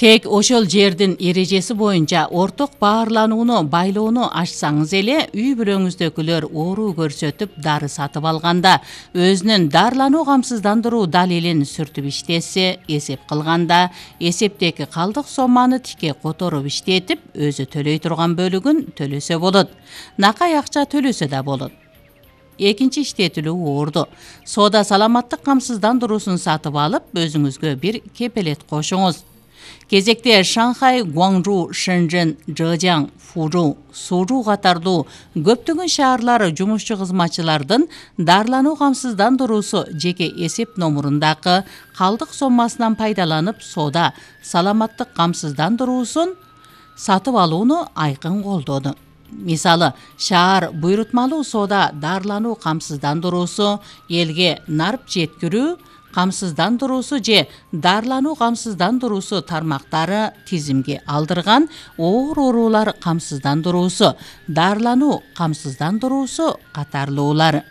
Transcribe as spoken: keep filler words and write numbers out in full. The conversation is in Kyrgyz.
Тек ошол жердин эрежеси боюнча орток баарланууну байлоону ачсаңыз эле үй бүлөңүздөгүлөр оору көрсөтүп дары сатып алганда, өзүнүн дарылануу камсыздандыруу далилин сүртүп иштесе, эсеп кылганда, эсептеги калдык сомманы тикке которуп иштетип, өзү төлөй турган бөлүгүн төлөсө болот. Накай акча төлөсө да болот. Экинчи иштетилүү орду. Соода саламаттык камсыздандыруусун сатып алып, өзүңүзгө бир кепелет кошуңуз. Кезекте Шанхай, Гуаңжу, Шэньчжэн, Зhejiang, Фужу, Сужу катардуу көптөгөн шаарлар жумушчу кызматчылардын дарылануу камсыздандыруусу жеке эсеп номурундагы калдык соммасынан пайдаланып, соода саламаттык камсыздандыруусун сатып алууну айкын колдоду. Мисалы, шаар буйрутмалуу соода дарылануу камсыздандыруусу, элге нарп жеткирүү камсыздандыруусу же дарылануу камсыздандыруусу тармактары тизимге алдырган оор оорулар камсыздандыруусу, дарылануу камсыздандыруусу катарлуулар.